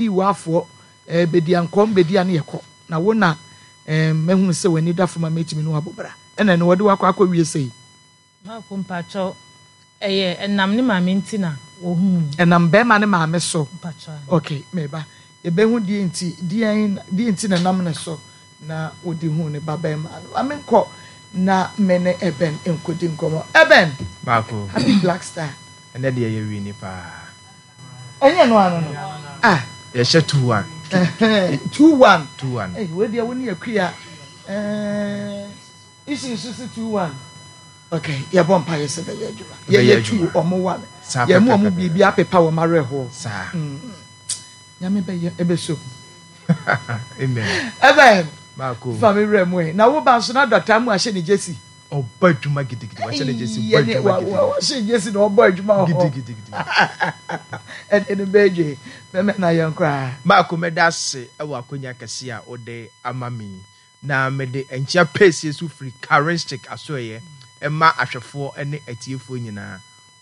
Wafoɔ eh, bɛdi ankɔm bɛdi a ne yɛkɔ na wo na eh, mahunu sɛ w'ani da fam a mɛtumi ne wo abɔ bra ɛna ɛno wɔde wo akɔ akɔ wie sei. Maako mpakyɛw ɛyɛ ɛnam ne maame nti na wɔhuu me. Ɛnam bɛɛma ne maame so. Mpakyɛw aane. Ok meba yɛbɛhu deɛ nti deɛn deɛ nti na ɛnam ne so na wɔde huu ne ba bɛɛma no. Ma menkɔ na me ne Eben nkɔdi nkɔmmɔ. Eben! Maako. Happy Black Star. Ɛnɛ deɛ yɛ wini paa. Ɛnyɛ no ano no. Ah. Yɛhyɛ 2-1. 2-1. 2-1. Hey, wei deɛ wo ne akua. Eh, isi nso si 2-1. Okay, yɛbɔ mpa yɛ sɛ bɛyɛ adwuma. Yɛyɛ 2 ɔmo 1. Yɛn mu ɔmo biribi apepa wɔn awerɛhoɔ. Saa. Mm. Nyame bɛyɛ ɛbɛsɔ mu. Amen. Amen. Baako. Fa me werɛ mu ɛ. Na wo ba nso na dɔkta mu ahyɛ ne gyesi. Ɔbɔ adwuma gidigidi. Wahyɛ ne gyesi bɔ adwuma gidigidi. Wahyɛ gyesi na ɔbɔ adwuma wɔ hɔ. Gidigidi. Ɛde no bɛdwe. Mɛmɛ na yɛn koraa. Baako mɛda ase wɔ akonya kɛse a wode ama me yi. Na mede nkyea pɛsie so firi Karinshik asoɛeɛ ma ahwɛfoɔ ne atiefoɔ nyinaa.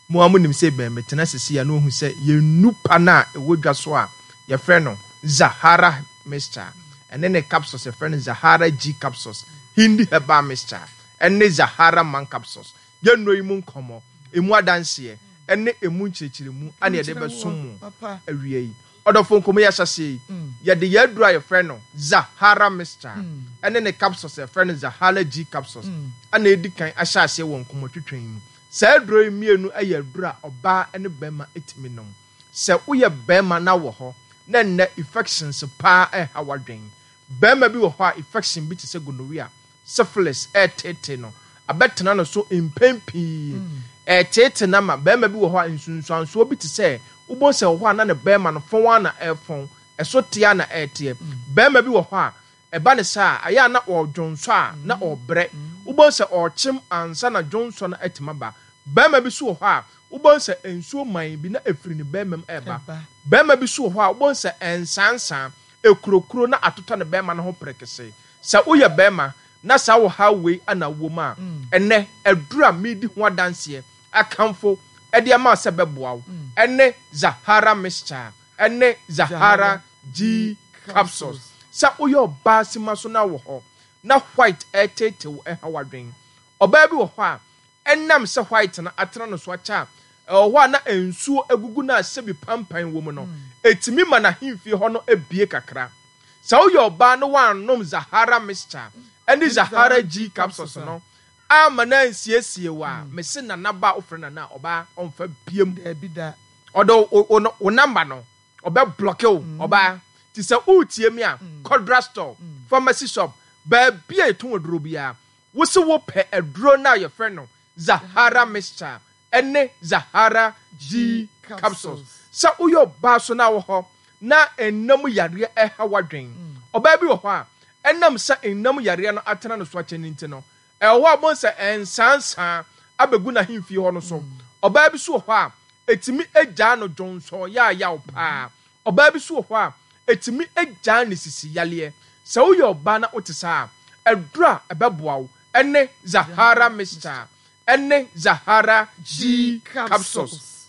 Mo ara monim sɛ bɛn metena sesei a na wɔhu sɛ yɛn nnupa no a ɛwɔ dwa so a yɛfrɛ no Zahara mixture ɛne ne capsules yɛfrɛ no Zahara G capsules, Hindi herbal mixture ɛne Zahara man capsules. Yɛn nnuro yi mu nkɔmmɔ, ɛmu adanseɛ ɛne ɛmu nkyerɛkyerɛmu ɛna yɛde bɛsom mo awia yi. Ɔdɔfo nkɔmmɔ yi ahyɛaseɛ yi, yɛde yɛn aduro a yɛfrɛ no Zahara mixture ɛne ne capsules a yɛfrɛ no Zahara G capsules ɛna ɛdi kan ahyɛ aseɛ wɔ nkɔmmɔtwetwe yi mu. Saa aduro yi mmienu yɛ aduro a ɔbaa ne barima tumi nom. Sɛ woyɛ barima na wɔ hɔ na nnɛ infections paa reha w'adwen. Barima bi wɔ hɔ a infection bi te sɛ gonorrhea, syphilis reteetee no, abɛtena no so mpɛn pii. Ɛreteetee no ama barima bi wɔ hɔ a nsunsuansoɔ bi te sɛ wobɛhu sɛ wɔ hɔ a na ne barima no fɔn ara na ɛrefɔn, ɛso teɛ ara na ɛreteɛ. Barima bi wɔ hɔ a Ɛba no saa a, ɛyɛ a na ɔredwonsɔ a, na ɔrebrɛ. Wobɛhu sɛ ɔrekyem ansa na dwonsɔ no atumi aba. Barima bi nso wɔ hɔ a, wobɛhu sɛ nsuo man bi na ɛfiri ne barima mu reba. Barima bi nso wɔ hɔ a, wobɛhu sɛ ɛnsaansaa, ɛkurokuro na atotɔ ne barima no ho perekesee. Sɛ woyɛ barima na saa ɔhaw wei na wowɔ mu a, ɛnnɛ, aduru a meredi ho adanseɛ akamfo de ama wo sɛ ɛbɛboa wo ne Zahara Mixture. ne Zahara G capsules. Sɛ woyɛ ɔbaa sima so na wɔ hɔ na white ɛreteetee wo ɛha w'adwen. Ɔbaa bi wɔ hɔ a ɛnam sɛ white no atena no so akyɛ a, ɛwɔ hɔ a na nsuo agugu no a sɛbi pampan wɔ mu no, ɛtumi ma n'ahemfie hɔ no bue kakra. Sɛ woyɛ ɔbaa na woannom Zahara mixture ne Zahara G capsules no amma no ansiesie wo a, mese Nana ba a wofrɛ Nana a, ɔbaa ɔmfa biam. Daabi da. Ɔde wo wo wo number no ɔbɛ blocke wo ɔbaa ti sɛ woretie me a kɔ drug store pharmacy shop baabi a yɛtɔn aduro biara wo se wo pɛ aduro no a yɛfrɛ no Zahara mixture ɛne Zahara G capsules sɛ woyɛ ɔbaa so na wɔ hɔ na nna mu yareɛ ɛha w'adwen ɔbaa bi wɔ hɔ a ɛnam sɛ nna mu yareɛ no atena no so akyɛ no nti no Ɛwɔ hɔ a wobɛhu sɛ nsaansaa abɛgu n'ahemfie hɔ no so. Ɔbaa bi nso wɔ hɔ a, ɛtumi gyaa no dwonsɔ yaayaw paa. Ɔbaa bi nso wɔ hɔ a, ɛtumi gyaa ne sisi yareɛ. Sɛ woyɛ ɔbaa na wote saa a, aduro a ɛbɛboa wo ne Zahara Mixture ne Zahara G Capsules.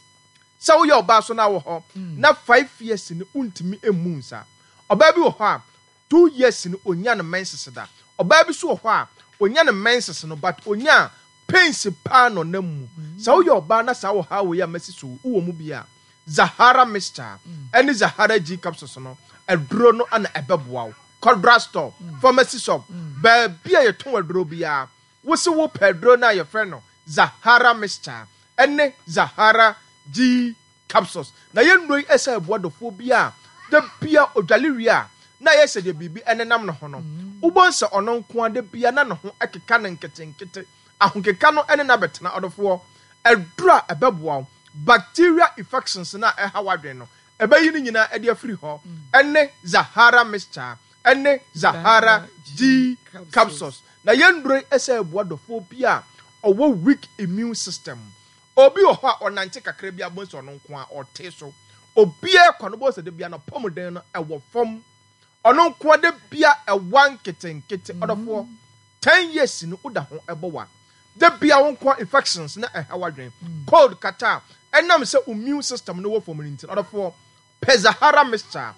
Sɛ woyɛ ɔbaa nso na wɔ hɔ na 5 years no wontumi mmu nsa. Ɔbaa bi wɔ hɔ a, 2 years no onya no menses da. Ɔbaa bi so wɔ hɔ a onya no menses no but onya a pains paa na ɔnam mu. Sɛ woyɛ ɔbaa na saa ɔhaw wei a masi so yi wowɔ mu bi a, Zahara mixture ɛne Zahara G capsules no aduro no na ɛbɛboa wo. Kɔ drug store, pharmacy shop, baabi a yɛtɔn aduro biara wose wopɛ aduro no a yɛfrɛ no Zahara mixture ɛne Zahara G capsules. Na yɛn nnuro yi ɛsɛ ɛboa dɔfoɔ bi a da bia ɔdwale wie a na ayɛ sɛ deɛ biribi ɛnenam ne ho no. Wobɛhu sɛ ɔno nko ara da bia na ne ho ɛkeka no nketenkete. Ahokeka no ɛne no abɛtena. Ɔdɔfoɔ, aduro a ɛbɛboa wo, bacteria infections no a ɛha w'adwene no, ɛbɛyi ne nyinaa ɛde afiri hɔ ɛne Zahara mixture ɛne Zahara G capsules. Na yɛn nnuro yi ɛsɛ ɛboa dɔfoɔ bi a ɔwɔ weak immune system. Obi wɔ hɔ a ɔnante kakra bi a wobɛhu sɛ ɔno nko ara ɔte so. Obiara kɔ no wobɛhu sɛ da biara n'apɔmuden no ɛwɔ fam. Ɔno nko ara da biara ɛwa nketenkete. Ɔdɔfoɔ, 10 years no woda ho ɛbɔ wa. Da biara wo nko ara infections na ɛha w'adwene. Cold kata a ɛnam sɛ wo immune system no wɔ fam no nti no, ɔdɔfoɔ, pɛ Zahara mixture.